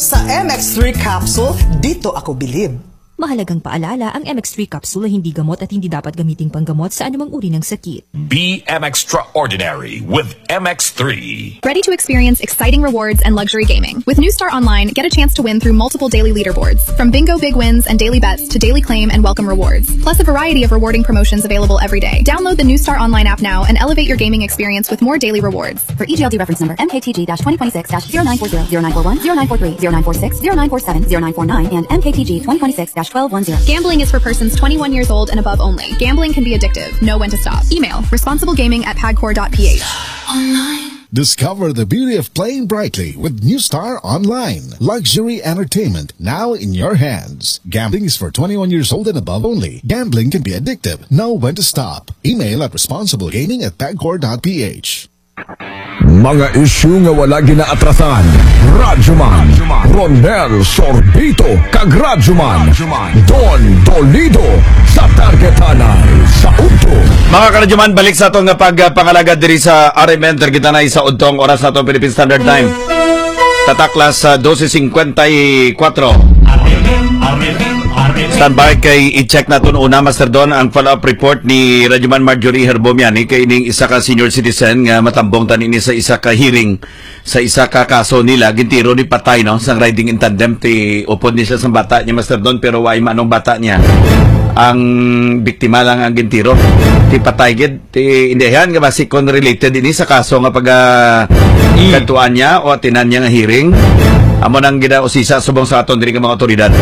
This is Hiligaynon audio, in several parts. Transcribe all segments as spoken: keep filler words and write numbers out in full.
Sa M X three capsule, dito ako bilib. Mahalagang paalala, ang M X three capsule ay hindi gamot at hindi dapat gamiting panggamot sa anumang uri ng sakit. B M Extraordinary with M X three. Ready to experience exciting rewards and luxury gaming? With New Star Online, get a chance to win through multiple daily leaderboards. From bingo big wins and daily bets to daily claim and welcome rewards. Plus a variety of rewarding promotions available every day. Download the New Star Online app now and elevate your gaming experience with more daily rewards. For E G L D reference number, M K T G twenty twenty-six dash zero nine four zero, zero nine four one, zero nine four three, zero nine four six, zero nine four seven, zero nine four nine, and M K T G twenty twenty-six dash twelve one zero. Gambling is for persons twenty-one years old and above only. Gambling can be addictive. Know when to stop. Email, responsiblegaming at pagcor.ph. Discover the beauty of playing brightly with New Star Online. Luxury entertainment now in your hands. Gambling is for twenty-one years old and above only. Gambling can be addictive. Know when to stop. Email at responsiblegaming at pagcor.ph. Mga isyu nga wala ginaatrasan. Radyoman Ronel Sorbito kag Radyoman Don Dolido sa Targetanay sa Udto. Mga karadyoman, balik sa aton nga pagpangalagad diri sa R M N Targetanay sa Udto. Ang oras naton Philippine Standard Time, tataklas sa dose cincuenta y cuatro. Standby kay i-check naton una, Master Don, ang follow-up report ni Radyoman Marjorie Herbomiani kay ining isa ka senior citizen nga matambong tani ni sa isa ka hearing sa isa ka kaso nila, gintiro ni patay, no, sang riding in tandem. Ti upod ni siya sang bata niya, Master Don, pero way manong bata niya. Ang biktima lang ang gintiro. Ti patay gid, ti indihan nga basi kon related ini sa kaso nga pag ah, kadtuan niya o atinan niya nga hearing. Amo nang ginausisa subong sa aton diri nga mga otoridad.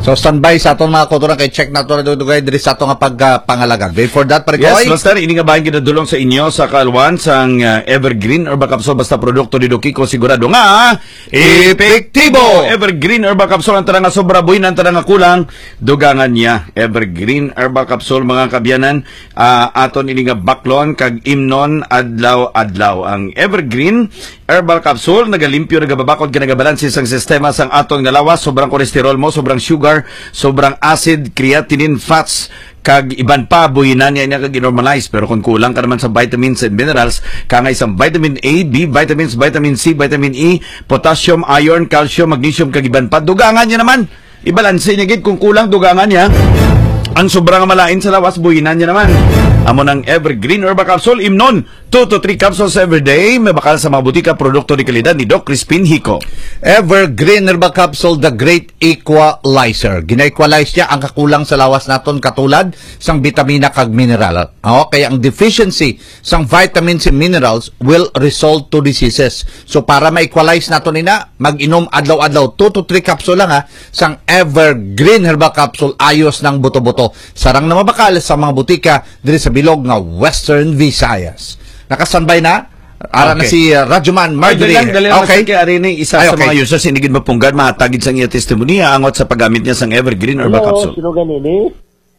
So standby sa aton mga kautoran kay check nato na dugay diri sa ato nga pagpangalagad. Before that, pare Yes, Koy. Master, ini nga bahin ginadulong sa inyo sa kaalwan sang ah, Evergreen Herbal Capsule, basta produkto ni Doc Kiko, sigurado nga epektibo. Evergreen Herbal Capsule, ang tanan nga sobra, buhin, ang tanan nga kulang, dugangan niya. Evergreen Herbal Capsule, mga kabyanan, ah, aton ini nga baklon kag imnon adlaw-adlaw. Ang Evergreen Herbal Capsule nagalimpyo, nagababakod, kag nagabalanse sang sistema sang aton nga lawas, sobrang cholesterol mo, sobrang sugar, sobrang acid, creatinine, fats, kag iban pa, buhinan niya niya kag i-normalize. Pero kung kulang ka naman sa vitamins and minerals, kangay sa vitamin A, B vitamins, vitamin C, vitamin E, potassium, iron, calcium, magnesium, kag iban pa, dugangan niya naman. Ibalanse niya gid kung kulang, dugangan niya. Ang sobra nga malain sa lawas, buhinan niya naman. Amo nang Evergreen Herbal Capsule, imnon, two to three capsules every day. May bakal sa mga butika, produkto ni kalidad ni Doc Crispin Hico. Evergreen Herbal Capsule, the great equalizer. Gina-equalize niya ang kakulang sa lawas naton, katulad sang bitamina kag mineral. Oh, kaya ang deficiency sang vitamins and minerals will result to diseases. So para ma-equalize naton ina, mag-inom adlaw-adlaw two to three capsule lang ha, sang Evergreen Herbal Capsule, ayos nang buto-buto. Sarang na mabakal sa mga butika diri sa bilog nga Western Visayas. Nakastandby na? Ara na Okay. si uh, Radyoman Marjorie. Ay, dali lang, dali lang, Okay. Master Kay ari ni isa Ay, sa okay. mga users, hindi gid mapunggan, mahatag gid sang iya testimoniya angot sa paggamit niya sang Evergreen Herbal Hello, Capsule. Sino ganini?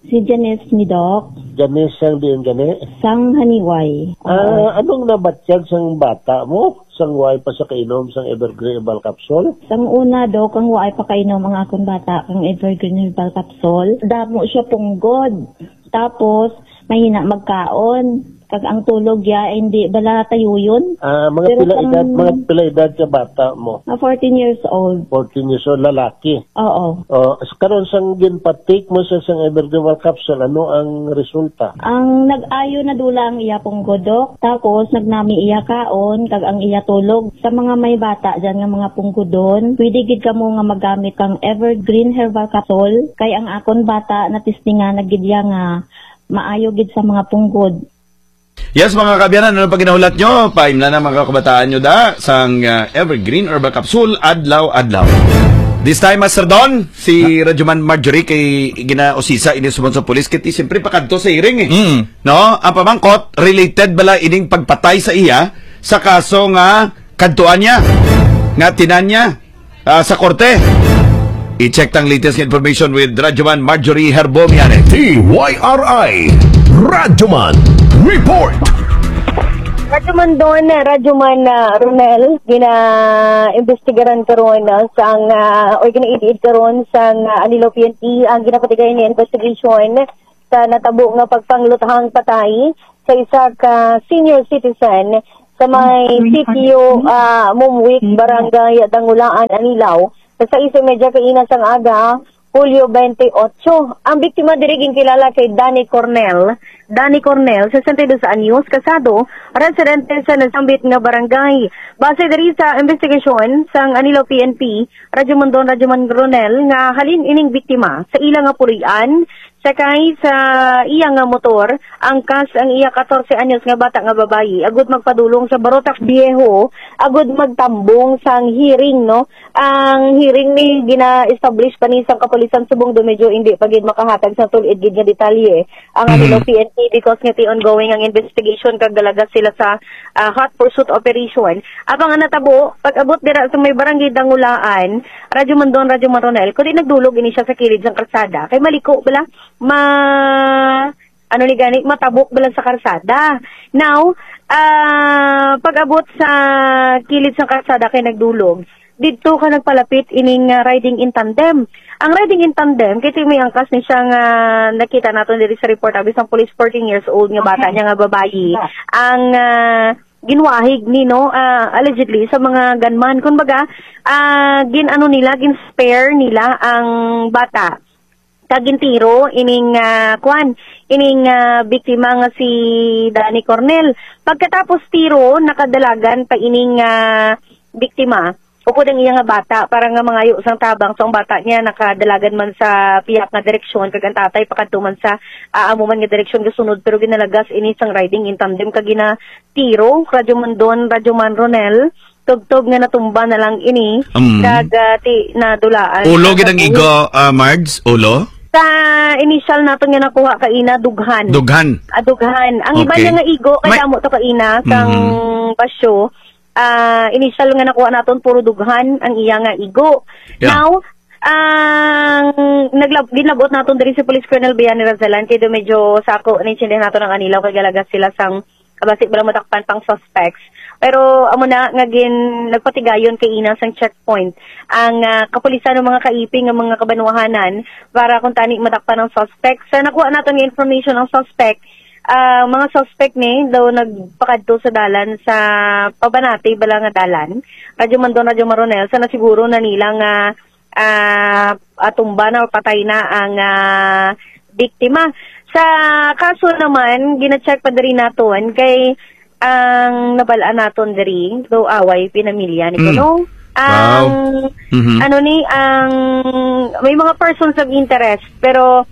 Si Janice ni Doc, Janice sang diin gani? sang Haniway. Ah, anong nabatyag sang bata mo? Sang way pa sa kainom sang Evergreen Herbal Capsule? Sang una, Doc, ang waay pa kainom ang akong bata kang Evergreen Herbal Capsule. Damo siya punggod. Tapos, mahina magkaon. Kag ang tulog niya, hindi bala tayuyon. Ah, mga Pero pila sang- edad, mga pila edad ka bata mo? Ah, fourteen years old. Fourteen years old, lalaki. Oo. Oh, s- karon sang ginpatik mo sa sang Evergreen Herbal Capsule, ano ang resulta? Ang nag-ayo na dula ang iya punggod, Doc. Tapos, nagnami iya kaon, kag ang iya tulog. Sa mga may bata dyan nga mga punggodon, pwede gid kamo nga magamit kang Evergreen Herbal Capsule. Kay ang akon bata, natistingan na gid iya nga maayo gid sa mga punggod. Yes, mga kaabyanan, ano pa ginahulat nyo? Paimna na mga kabataan nyo da sang uh, Evergreen Herbal Capsule adlaw-adlaw. This time, Master Don, si Radyoman Marjorie kay ginausisa ini subong sa pulis kay ti siyempre pakadto sa hearing eh. Mm. No? Ang pamangkot, related bala ining pagpatay sa iya sa kaso nga kadtuan niya, nga tinan niya ah, sa korte. I-check tang latest information with Radyoman Marjorie Herbo Miyanes. T Y R I Radyoman Report. Radyoman Don, Radyoman ah, Ronel, gina-imbestigaran karon ah, sang ah, or gina-idiid karon sang ah, Anilo P N P ang ginapatigay nga investigation sa natabo nga pagpangluthang patay sa isa ka senior citizen sa may sitio ah, Mumwik, Barangay Dangulaan, Anilao, Sa sais y media kaina sang aga, Hulyo twenty-eight. Ang biktima diri ginkilala kay Danny Cornell. Danny Cornell, sesenta y dos anyos, kasado, residente sa nasambit nga barangay. Base diri sa investigasyon sang Anilo P N P, Radyo Mondon, Radyo Manronel, nga halin ining biktima sa ila nga puloy-an, sakay sa iya nga motor, angkas ang iya katorse anyos nga bata nga babayi, agud magpadulong sa Barotac Viejo, agud magtambong sang hearing, no? Ang hearing ni gina-establish pa ni sang kapulisan subong do medyo hindi pa gid makahatag sa tulid gid nga detalye ang Anilo P N P because nga ti ongoing ang investigation kag dalaga sila sa, ah, hot pursuit operation. Apang ang natabo, pag-abot dira sa may barangay Dangulaan, Radyo Mandon, Radyo Maronel, kundi nagdulog ini siya sa kilid sang kalsada. Kay maliko bala, ma ano ni gani, matabok bala sa karsada. Now, ah, pag-abot sa kilid sa karsada kay nagdulog, didto ka nagpalapit ining, ah, riding in tandem. Ang riding in tandem, kay may angkas ni siya nga nakita naton diri sa report, abi sang police, fourteen years old nga bata niya nga babayi. Ang, ah, ginwahig ni, no, ah, allegedly sa mga gunman. Kumbaga, ah, gin-ano nila, gin-spare nila ang bata. Kag gintiro ining, ah, kwan, ining, ah, biktima nga si Danny Cornell. Pagkatapos tiro, nakadalagan pa ining, ah, biktima. Ukod ang iya nga bata, para nga mangayo sang tabang. So, ang bata niya nakadalagan man sa pihak nga direksyon, kag ang tatay pakadto man sa, ah, amo man nga direksyon gasunod, pero ginalagas ini sang riding in tandem kag ginatiro. Radyo Mandon, Radyo Man Ronel, tubtob nga natumba na lang ini, Mm. kag, ah, ti-, nadulaan Ulo ang gid ang kabuhi. Igo, ah, Mards? Ulo? Sa initial naton nga nakuha kaina, dughan. Dughan. Ah, dughan. Ang iba Okay. niya nga igo, kay May amo to kaina, kang Mm. basyo, ah, initial nga nakuha naton, puro dughan ang iya nga igo. Yeah. Now, ang naglab-, ginlab-ot naton diri si Police Colonel Bayani Razalan, kay do medyo sako, naintindihan naton ang anilaw, kay galagas sila sang basi bala madakpan pang suspects. Pero amo na nga gin-, nagpatigayon kaina sang checkpoint ang, ah, kapulisan ng mga kaiping nga mga kabanwahanan para kung tani madakpan ang suspects. Sa nakuha naton nga information ang suspect, ah, mga suspect ni daw nagpakadto sa dalan sa pabanati bala nga dalan. Radyo Mandon, Radyo Maronel, sa nasiguro na nila nga ah, atumba na o patay na ang, ah, biktima. Sa kaso naman, gina-check pa diri naton kay ang nabal-an naton diri, do away pinamilya ni Mm. kuno. Ang, Wow. Mhm. ano ni, ang may mga persons of interest, pero,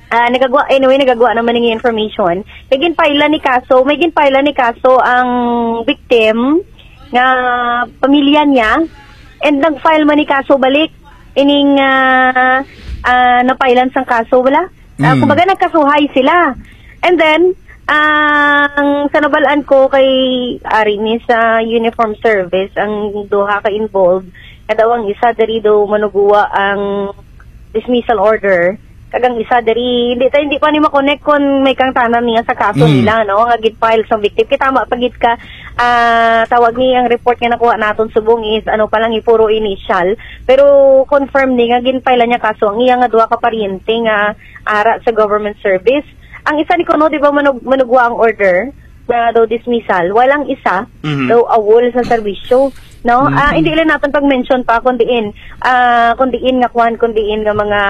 ah, nagagwa, anyway, nagagwa naman ng information. May ginpailan ni kaso, may ginpailan ni kaso ang victim nga pamilya niya, and nag-file man ni kaso balik. Ining, ah, ah, napailan sang kaso, wala? Ah, Mm. kumbaga, nagkasuhay sila. And then, ang sa nabalaan ko kay ari ni sa uniform service, ang duha ka involved, nga daw ang isa diri daw manuguwa ang dismissal order, kag ang isa diri, hindi ta, hindi pa ni ma-connect kon may kangtanan niya sa kaso Mm. nila, no, nga gid-file sa victim. Kay tama pa gid ka, ah, tawag ni ang report nga nakuha naton subong is, ano pa lang, eh, puro initial. Pero confirm ni nga gin-file niya kaso ang iya nga duha ka paryente nga ara sa government service. Ang isa ni kuno, di ba, manug-, manugwa ang order nga daw dismissal. Walang isa, Mhm. daw awol sa serbisyo. No? Ah, Mhm. hindi lang naton pag-mention pa kung diin, ah, kung diin nga kwan, kung diin nga mga,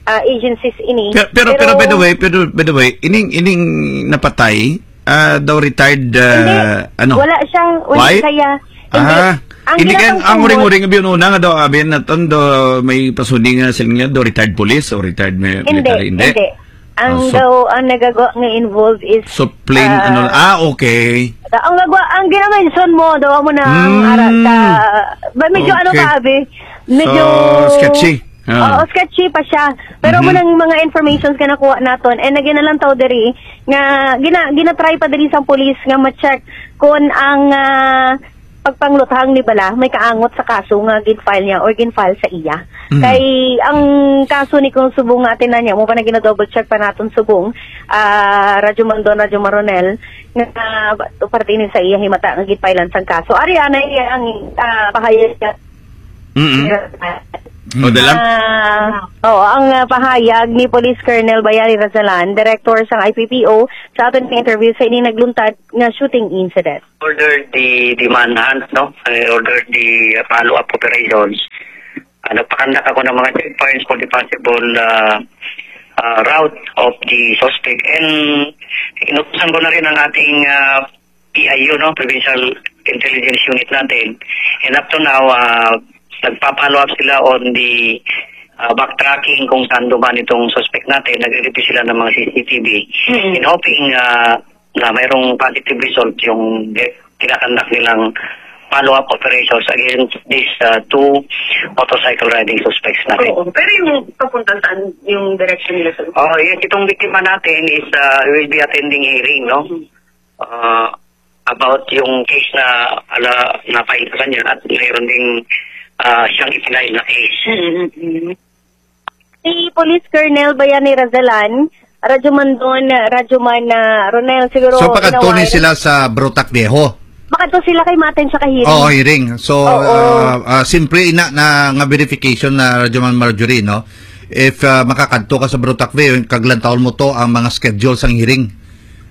ah, agencies ini. Pero, pero, pero by the Pero way, pero by the way, ining, ining napatay, ah, daw retired, ah, Hindi. ano? Wala siya, wala Why? kaya. Hindi. Ah, Ang hindi kaya ginatang ang tumor uring-uring biyon una nga daw, abi naton do may pasuni nga sila nga daw retired police o retired mi-, Hindi, military, hindi? hindi. Ang Ah, so daw, ang nagagawa nga involved is, So, plain, ah, ano, ah, okay. ang nagwa-, ang ginamention mo daw mo na ang Mm. ara sa, ba, medyo ano Okay. ka, abi? Medyo So, sketchy. Ah. Oo, sketchy pa siya. Pero Mhm. mo nang mga informations ka nakuha naton, and again, nalantaw diri, nga gina-, ginatry pa diri sa police nga ma-check kung ang, ah, pagpangluthang ni bala may kaangot sa kaso nga gin-file niya or gin-file sa iya. Mhm. Kay ang kaso ni kung subong nga atin na niya, mo pa na gina-double check pa naton subong, ah, Radyo Mandon, Radyo Maronel, nga, ah, parte ni sa iya himata nga gin-filean sang kaso. Ari, anay, ang, ah, pahayag niya. Mm-mm. O, dala? Ah, oo, ang, ah, pahayag ni Police Colonel Bayani Razalan, Director sang I P P O, sa aton nga interview sa ini nagluntad nga shooting incident. Order the, the manhunt, no? Eh, order the, uh, follow-up operations. nagpakandak ako ng mga checkpoints for the possible, ah, ah, route of the suspect. And inutusan ko na rin ang ating, ah, P I U, no, Provincial Intelligence Unit natin. And up to now, ah, nagpa-follow up sila on the, ah, backtracking kung saan duman itong suspect natin. Nagre-review sila ng mga C C T V. Mm-mm. In hoping, ah, na mayroong positive result yung de-, tinakandak nilang follow-up operations against these, ah, two motorcycle riding suspects natin. Oo, pero yung papunta saan yung direction nila, sir? Oh, yes, itong biktima natin is, ah, will be attending hearing, no? Mm-hmm. Ah, about yung case na ala, na-file sa kanya at mayroon ding, ah, siyang ipinail na case. Mm-hmm. Si Police Colonel Bayani Razalan, Radyo Mandon, Radyo Man, ah, Ronel, siguro So, pakadto ni inaway. sila sa Brotac Viejo? Pakadto sila kay maten sa kahiring. Oo, hearing. So, Oo. ah, ah, simple ina na nga verification na Radyo Man Marjorie, no? If, ah, makakadto ka sa Brotac Viejo, kaglantawon mo to ang mga schedule sang hearing.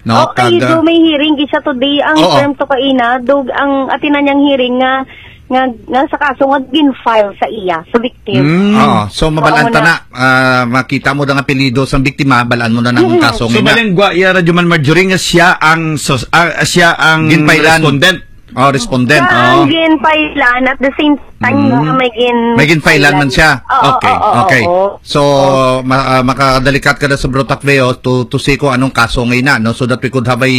No? Okay, Kag, ah, do may hearing gid siya today. Ang Oo. term to kaina, dug ang atina niyang hearing nga, nga, nga sa kaso nga gin-file sa iya, sa victim. Mm. Oo. So, mabalaan Oo, ta na. na, ah, makita mo na ang apelyido sang biktima, balaan mo na ang Mm. kaso So, nga ina. Baling gwa iya, Radyo Man Marjorie, nga siya ang sus-, ah, siya ang Ginpailan. respondent. Oh, respondent. Siya ang Oh. ginpailan at the same time Mm. nga may gin- May ginpailan man siya. Oo, Okay, oo, okay. oo. So, Oo. ma-, ah, makadalikat ka na sa Brotac Veo to, to see kung anong kaso nga ina, no? So that we could have a,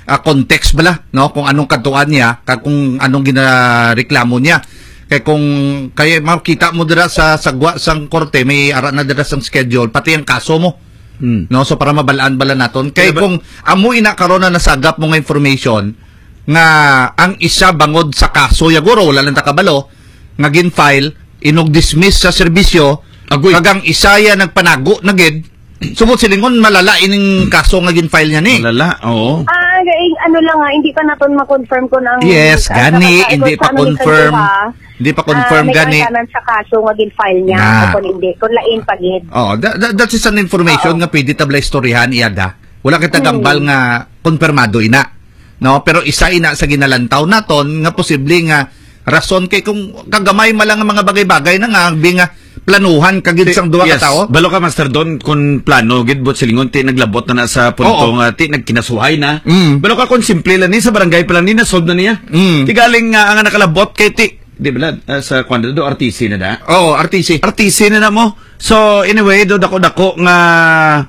ah, context bala, no? Kung anong kadtuan niya, kag kung anong ginareklamo niya. Kay kung, kay makita mo dira sa sagwa sang korte, may ara na dira sang schedule, pati ang kaso mo. Hmm. No? So, para mabalaan bala naton. Kay Kaya ba kung amo ina karon na nasagap mo nga information, nga ang isa bangod sa kaso, yaguro, wala lang ta kabalo, nga gin-file, inog dismiss sa serbisyo, Agoy. Kag ang isa ya nagpanago na gid, subot silingon, malala ining kaso nga gin-file niya ni. Malala, oo. Ah, eh, ano lang nga, hindi pa naton ma-confirm kung ang, Yes, ah, gani, nakaka-, hindi kung pa ano ni confirm. Kanduha, Hindi pa ah, confirm may gani. Arkanan sa kaso nga gin-file niya, Na. o kung hindi, kung lain pa gid. Oh, that, that, that is an information Oo. nga pwede ta bala istoryahan, iyada. Wala kita Hmm. gambal nga konfirmado ina. No, pero isa ina sa ginalantaw naton nga posible nga rason kay kung kagamay man lang ang mga bagay-bagay na nga, bi nga planuhan ka gid Ti-, sang duha ka yes. tawo. Balo ka, Master Don, kung plano gid, buot silingon, ti naglabot na na sa punto Oo. nga ti nagkinasuhay na. Mm. Balo ka kung simple lang ni, sa barangay pa lang ni, na-solve na niya. Mm. Ti galing nga ang nakalabot kay ti, di ba, ah, sa kwan do, R T C na da? Oo, R T C. R T C na na mo. So, anyway, do dako-dako nga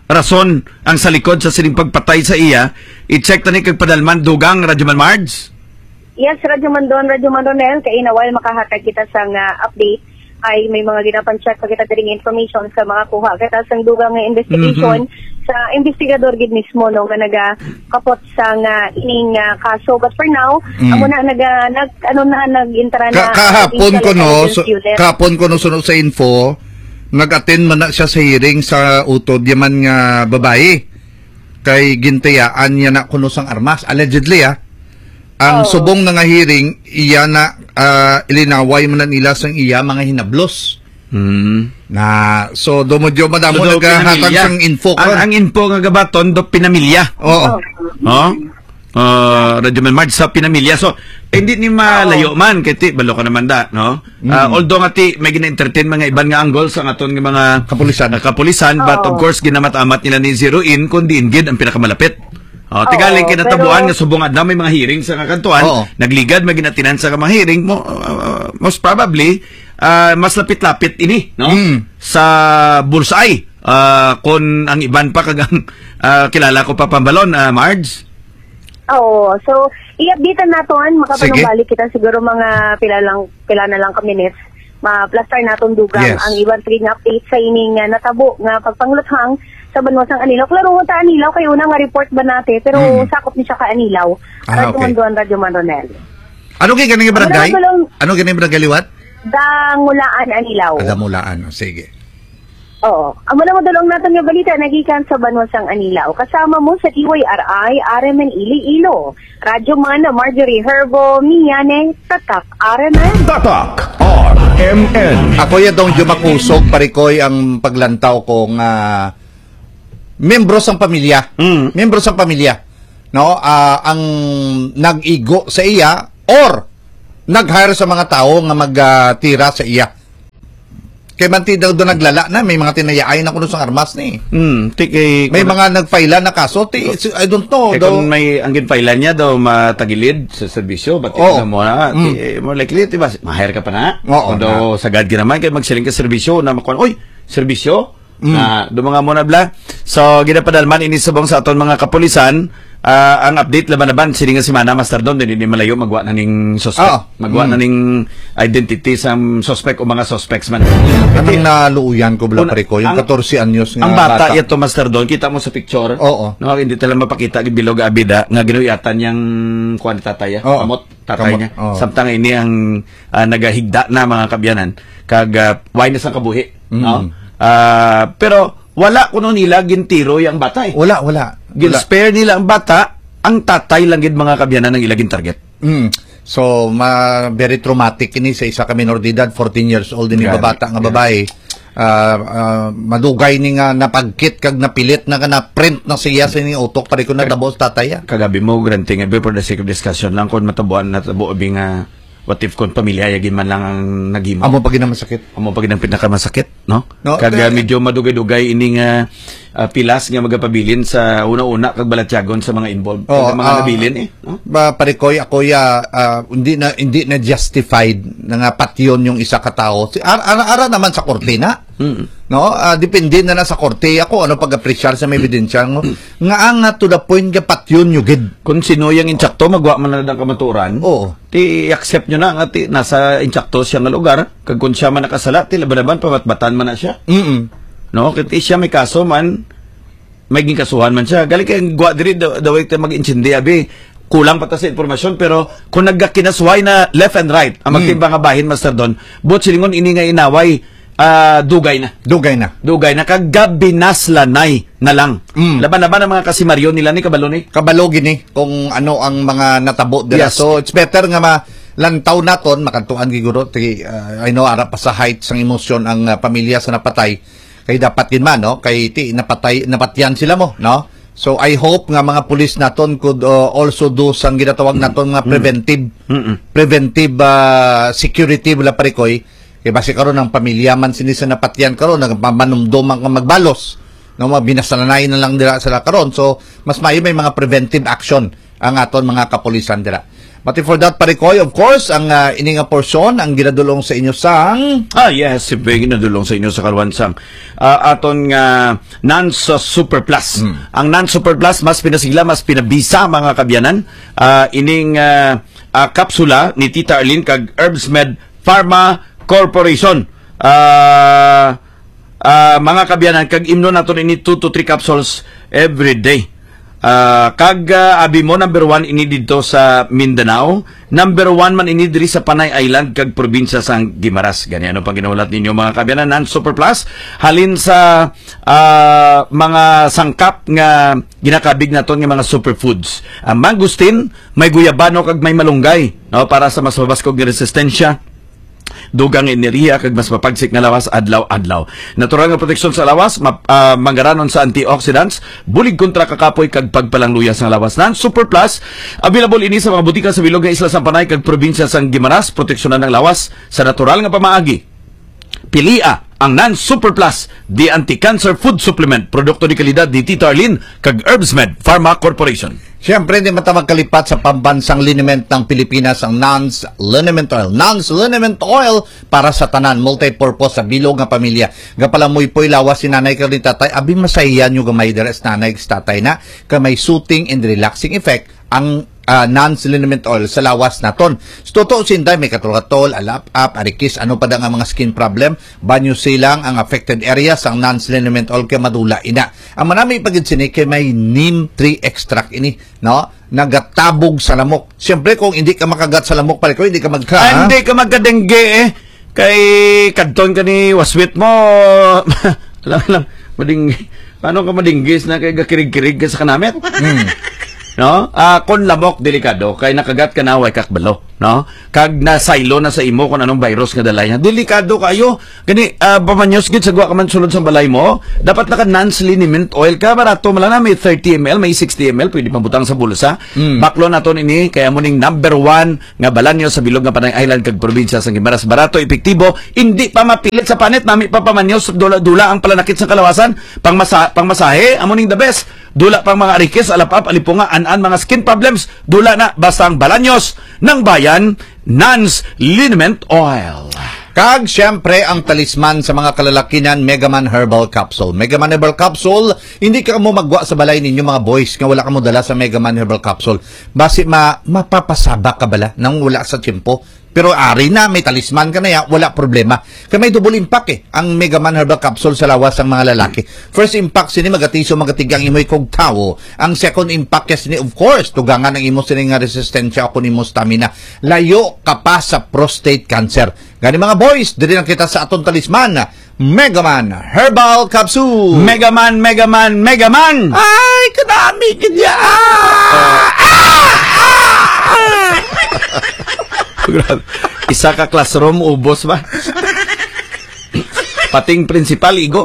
rason ang sa likod sa sining pagpatay sa iya. I-check tani kag padalman, dugang, Radyo Man Marge. Yes, Radyo Mandon, Radyo Man Ronel, kay inaway makahatag kita sang, ah, update, ay may mga ginapan-check pa kita diri nga information sa mga kuha kita sang dugang nga investigation Mhm. sa investigador gid mismo, no, nga nagakapot sang, ah, ining, ah, kaso. But for now, Mm. amo na, nag, ah, nag, ano na, nag-intara Ka-, na kahapon provincial ko, no, intelligence so, unit. kahapon ko, no, suno sa info, nag-attend man na siya sa hearing sa utod yaman nga babayi. Kay gintayaan niya na kuno sang armas, allegedly, ah. Ang Oo. subong na nga hearing, iya na, ah, ilinaway man na nila sang iya mga hinablos. Hmm. Na, so, do mo, do, madamo So, do naghahatag pinamilya. sang info Ang, ka. ang info nga gabaton, do pinamilya. Oo. Oo. Oh? Ah, Radyo Man Marge, sa pinamilya. So, eh, hindi ni malayo Oo. man, kay ti, balo ka naman da, no? Ah, Mm. although nga ti, may gina-entertain mga iban nga angles ang aton nga mga Kapulisan. ah, kapulisan, but of Oo. course, ginamat-amat nila ni zero in kung diin gid ang pinakamalapit. Oh, Oo, tigaling kay natabuan pero nga subong adlaw may mga hearing sa kakantuan, Oo. nagligad may ginatinan sa mga hearing mo, ah, most probably, ah, mas lapit-lapit ini, no? Mm. Sa bullseye, ah, kung ang iban pa kag ang, ah, kilala ko pa pambalon, ah, Marge? Oo. So, i-update naton, Sige. makapanumbalik kita siguro mga pila lang, pila na lang ka minutes. Ma-plaster naton dugang Yes. ang iban pa gid nga update sa ining, ah, natabo nga pagpangluthang sa banwa sang Anilao. Klaro ta Anilao kay una nga report ba natin, pero Mm. sakop ni siya ka Anilao. Ah, Radyo okay. Manduan, Radyo Manronel. Ano kay ganing Ano barangay? naman, Dulong? Ano ganing barangay liwat? Dangulaan, Anilao. Ah, Damulaan. Oh, sige. Oo. Amo na madulong naton nga balita nagikan sa banwa sang Anilao. Kasama mo sa D Y R I, R M N Iloilo. Radyo Man, Marjorie Herbo, Miane, Tatak R M N. Tatak R M N. Ako ya dong Jumakusog, parikoy ang paglantaw ko nga miyembro sang pamilya. Mm. Miyembro sang pamilya. No? Ah, ang nag-igo sa iya or nag-hire sa mga tao nga mag, ah, tira sa iya. Kay man ti daw, daw naglala na, may mga tinayaay na kuno sang armas ni. Hmm, ti kay May mga nagfile na kaso, ti, si- I don't know, Kay daw. kung may ang ginfile niya daw matagilid sa serbisyo, but Oo. ikaw mo na, ti, Mm. eh, more likely, di ba, ma-hire ka pa na? Oo, Kung daw na. sagad ka naman, kay magsiling ka serbisyo na makuha, "Oy, serbisyo?" Mm. Na, do mga mo na bla. So, ginapadalman ini subong sa aton mga kapulisan, ah, ang update laban-laban, sini nga semana, Master Don, din, di malayo, magwa na ning suspect. Oo. Magwa na Mm. ning identity sa suspect o mga suspects man. Anong Kasi, naluuyan ko, bala, un-, pare ko, yung ang, katorse anyos nga ang bata, bata. Yato, Master Don, kita mo sa picture, Oo. no, hindi talaga mapakita, bilog abida, nga ginuyatan yang kuwan ni tatay, ah, Oo. kamot, tatay Kamot, niya. Oo. Samtang ini ang, ah, nagahigda na, mga kabyanan, kag, ah, why na sang kabuhi, Mm. no? Ah, pero wala kuno nila gintiro yang bata, eh. Wala, wala. Wala. Gin-spare nila ang bata, ang tatay lang gid, mga kabyanan, ang ila gin-target. Mm. So, ma-, very traumatic ini sa isa ka minor de edad, fourteen years old, ini Grabe. babata nga Grabe. babae. Ah, ah, madugay ni nga napagkit kag napilit na ka na-print na siya sa ining utok, pare ko, natabo sa tatay, ah. Kagabi mo, granting, eh, for the sake of discussion lang, kung matabuan, natabo, abi nga, what if kung pamilya, yagi man lang ang naghimo? Amo pa gid ang masakit. Amo pa gid ang pinakamasakit, no? No, Kag, ah, eh, medyo madugay-dugay ini nga, ah, pilas nga magapabilin sa una-una kag balatyagon sa mga involved. Oo, Kag mga ah, nabilin, eh, no? Ba, pare ko, ako, ya, ah, hindi na, hindi na justified na nga patyon yung isa ka tao. Si, ar-, ar-, ara naman sa korte na. Mm. No? Ah, depende na na sa korte. Ako, ano pag-apresyar sa may ebidensya ngo? Nga ang, ah, to the point nga patyon nyo gid. Kung sino yung insakto, magwa man na lang kamaturan. Oo. Ti, i-accept nyo na nga, ti, nasa insakto siya nga lugar. Kag kung siya man nakasala, ti, laban-laban, pabatbatan man na siya. Mm-mm. No? Kaya ti siya may kaso man, may ginkasuhan man siya. Gali kay gwa diri, da-, daway ta mag-intindi, abi. Kulang pa ta sa impormasyon, pero kung nagkakinasuhay na left and right, ang Mm. magkaiba nga bahin, Master Don, buot silingon ini nga inaway, ah, dugay na. Dugay na. Dugay na. Kag gabinaslanay na lang. Mm. Laban-laban ang mga kasimaryo nila ni kabalo ni. Kabalo gini kung ano ang mga natabo dira. Yes. So, it's better nga malantaw naton, makadtuan giguro, ti, ah, I know, ara pa sa height sang emosyon ang, ah, pamilya sa napatay. Kay dapat gid man, no? Kay ti, napatay, napatyan sila mo, no? So, I hope nga mga pulis naton could, uh, also do sang ginatawag naton nga Mm. preventive, Mm-mm. preventive, uh, security, wala, pare ko, eh. Kay basi karon ang pamilya man sini sa napatyan karon, nagpamanumdom ang magbalos, no? Mga binasalanay na lang dira sila karon. So, mas maayo may mga preventive action ang aton mga kapulisan dira. But for that, pare ko, of course, ang, ah, ini nga porsyon ang ginadulong sa inyo sang Ah, yes, siyempre, ginadulong sa inyo sa karuan sang, ah, aton nga Nans, ah, Super Plus. Hmm. Ang Nans Super Plus, mas pinasigla, mas pinabisa, mga kabyanan. Ah, ining, ah, ah, kapsula ni Tita Arlene kag Herbs Med Pharma Corporation. Ah, ah, mga kabyanan, kag imnon naton ini two to three capsules every day. Ah, kag, ah, abi mo, number one ini didto sa Mindanao, number one man ini diri sa Panay Island kag probinsya sang Guimaras. Gani, ano pang ginahulat ninyo, mga kabyanan? Nan Super Plus, halin sa, ah, mga sangkap nga ginakabig naton nga mga superfoods. Ang mangosteen, may guyabano kag may malunggay, no, para sa mas mabaskog nga resistensya, dugang enerhiya kag mas mapagsik nga lawas adlaw-adlaw. Natural nga proteksyon sa lawas, map-, ah, manggaranon sa antioxidants, bulig kontra kakapoy kag pagpalangluya sa lawas. Nan Super Plus, available ini sa mga butika sa bilog nga isla sang Panay kag probinsya sang Guimaras. Proteksyonan ang lawas sa natural nga pamaagi. Pilia ang Nan Super Plus, the anti-cancer food supplement, produkto de kalidad ni Tita Arlene kag Herbsmed Pharma Corporation. Siyempre, di man ta magkalipat sa pambansang liniment ng Pilipinas, ang Nans Liniment Oil. Nans Liniment Oil para sa tanan, multi-purpose sa bilog nga pamilya. Gapalamuypoy lawas si nanay kag ni tatay, abi, masaya nyo gamay dira sa nanay kag sa tatay na, kay may soothing and relaxing effect ang, ah, Nans Liniment Oil sa lawas naton. Sa totoo, sinday, may katol-katol, alap-ap, arikis, ano pa da nga mga skin problem, banyo silang ang affected area sang Nans Liniment Oil kay madula ina. Ang manami pa gid sini kay may neem tree extract ini, no? Nagatabog sa lamok. Siyempre, kung hindi ka makagat sa lamok, pare ko, hindi ka magka- Ah, hindi ka magka-dengue, eh. Kay kadton ka ni waswit mo. Alam lang, mading-, paano ka madinggis na kay gakirig-kirig ka sa kanamit? Hmm. No? Ah, kon lamok, delikado, kay nakagat ka na, way kakbalo, no? Kag nasaylo na sa imo kung anong virus nga dala niya. Delikado kayo. Gani, ah, pamanyos gid sa gwa ka man sulod sa balay mo. Dapat naka Nans liniment oil ka. Barato man lang na, may thirty M L, may sixty M L, pwede pabutang sa bulsa. Mm. Baklo naton ini, kaya mo ning number one nga balanyo sa bilog nga Panay Island kag probinsya sa Guimaras. Barato, epektibo, hindi pa mapilit sa panit, nami pa pamanyos, dula-dula ang palanakit sa kalawasan, pangmasa-, pangmasahe, amo ning the best. Dula pang mga arikis, alapap, alipunga, an-an, mga skin problems, dula na, basta ang balanyos ng bayan, Nans Liniment Oil. Kag, siyempre, ang talisman sa mga kalalakinan, Megaman Herbal Capsule. Megaman Herbal Capsule, hindi ka mo magwa sa balay ninyo, mga boys, nga wala ka mo dala sa Megaman Herbal Capsule. Basi ma-, mapapasaba ka bala nang wala sa tiyempo. Pero ari na, may talisman ka na ya, wala problema. Kay may double impact eh, ang Megaman Herbal Capsule sa lawas sang mga lalaki. First impact sini, magatiso, magatigang imoy kog tawo. Ang second impact ya sini, of course, tugangan ang imo sini nga resistensya o kun imo stamina. Layo ka pa sa prostate cancer. Gani, mga boys, diri lang kita sa aton talisman, Megaman Herbal Capsule. Megaman, Megaman, Megaman! Ay, kadami gid ya! Ah! Ah! Ah! Ah! Grabe. Isa ka classroom, ubos ba? Pating principal, igo.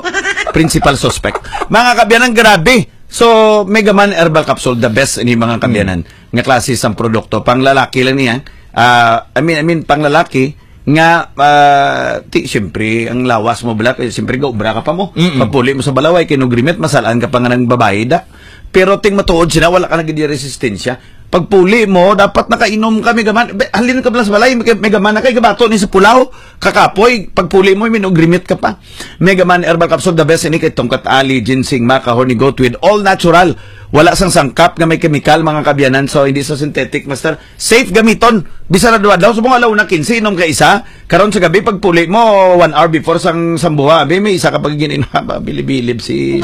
Principal suspect. Mga kaabyanan, grabe. So, Megaman Herbal Capsule, the best ini, mga kaabyanan, nga klase sang produkto. Pang lalaki lang niya. Ah, I mean, I mean, pang lalaki nga, ah, ti, siyempre, ang lawas mo bala, kay siyempre, gaubra ka pa mo. Mm-mm. Pagpuli mo sa balaway, kinugrimit, masalaan ka pa nga ng babae da. Pero ting matuod sila, wala ka na gid resistensya. Pagpuli mo, dapat nakainom ka, Megaman. Be, halin ka bala sa balay, Mega-, Megaman na kay gabato ni sa pulaw. Kakapoy, pagpuli mo, minugrimit ka pa. Megaman Herbal Capsule, the best ini kay tungkat ali, ginseng, maca, horny goat weed, all natural. Wala sang sangkap nga may kemikal, mga kaabyanan. So, hindi sa synthetic, master. Safe gamiton. Bisan adlaw-adlaw, subong adlaw na kinse, inom ka isa. Karon sa gabi, pagpuli mo, one hour before sang sambuha, abi, may isa ka pag gin-inom. Ba, bilib-bilib si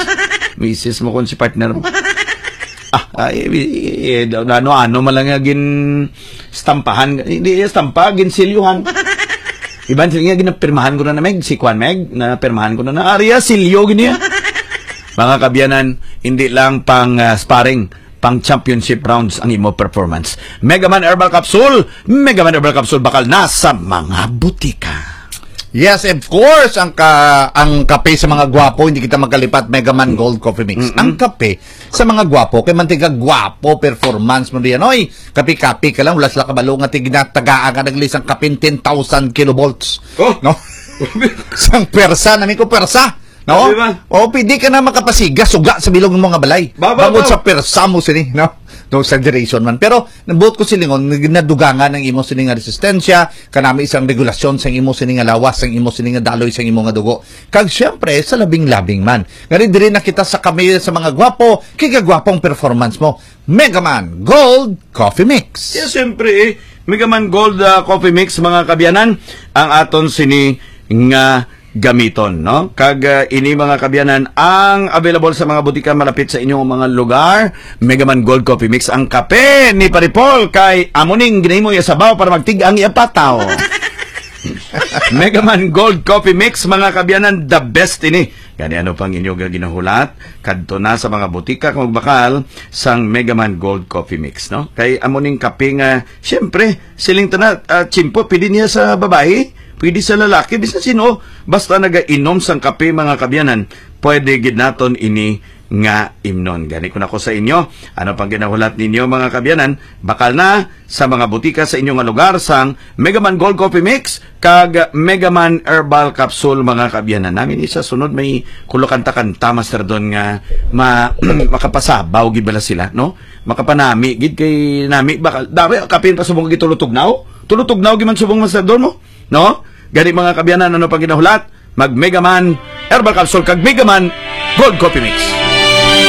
misis mo kung si partner mo. Ah, ay, eh, eh, ano, ano man lang nga gin-stampahan. Hindi, eh, stampa, ginsilyuhan. Iban sila nga, ginapirmahan ko na na, Meg, si Kwan, Meg, napirmahan ko na na. Ari ya, silyo gini ya. Mga kaabyanan, hindi lang pang, ah, sparring, pang championship rounds ang imo performance. Megaman Herbal Capsule, Megaman Herbal Capsule, bakal na sa mga butika. Yes, of course, ang ka-, ang kape sa mga gwapo, hindi kita magkalipat, Megaman Gold Coffee Mix. Mm-mm. Ang kape sa mga gwapo, kay mantiga gwapo, performance mo diyan. Oy, kape-kape ka lang, wala sila kabalo nga tiginatagaan ka naglisang kapin ten thousand kilovolts. Oh. No? Sang persa, nami ko persa. No? Di ba? O, pwede ka na makapasiga, suga sa bilog ng mga balay. Ba, ba, Bangod ba? Sa persa mo sini, no? No exaggeration man. Pero, nabuot ko silingon, nag-, nadugangan ang imo sini nga resistensya, kanami isang regulasyon sang imo sini nga lawas, sang imo sini nga daloy, sang imo nga dugo. Kag, siyempre, sa labing-labing man. Ngari, diri na kita sa kami sa mga gwapo, kay kagwapong performance mo. Megaman Gold Coffee Mix. Yes, siyempre, eh. Megaman Gold, ah, Coffee Mix, mga kaabyanan, ang aton sini nga gamiton, no? Kag, ah, ini, mga kaabyanan, ang available sa mga butika malapit sa inyong mga lugar. Megaman Gold Coffee Mix, ang kape ni Pare Paul kay amo ning ginahimo iya sabaw para magtig-ang iya pataw. Megaman Gold Coffee Mix, mga kaabyanan, the best ini. Gani, ano pang inyo nga ginahulat? Kadto na sa mga butika kung magbakal sang Megaman Gold Coffee Mix, no? Kay amo ning kape nga, siyempre, siling tana, ah, tsimpo, pwede niya sa babae, pwede sa lalaki, bisan sino, basta nagainom sang kape, mga kaabyanan, pwede gid naton ini nga imnon. Gani ko na ko sa inyo, ano pang ginahulat ninyo, mga kaabyanan, bakal na sa mga butika sa inyo nga lugar sang Megaman Gold Coffee Mix kag Megaman Herbal Capsule, mga kaabyanan. Namin isa sunod may kulo kanta-kanta, Master Don, nga ma-, makapasabaw gid bala sila, no? Makapanami gid kay nami bakal. Dami, kapin pa subong gid tulutugnaw. Tulutugnaw gid man subong, Master Don, mo, no? Gani, mga kaabyanan, ano pang ginahulat? Mag Megaman Herbal Capsule kag Megaman Gold Coffee Mix.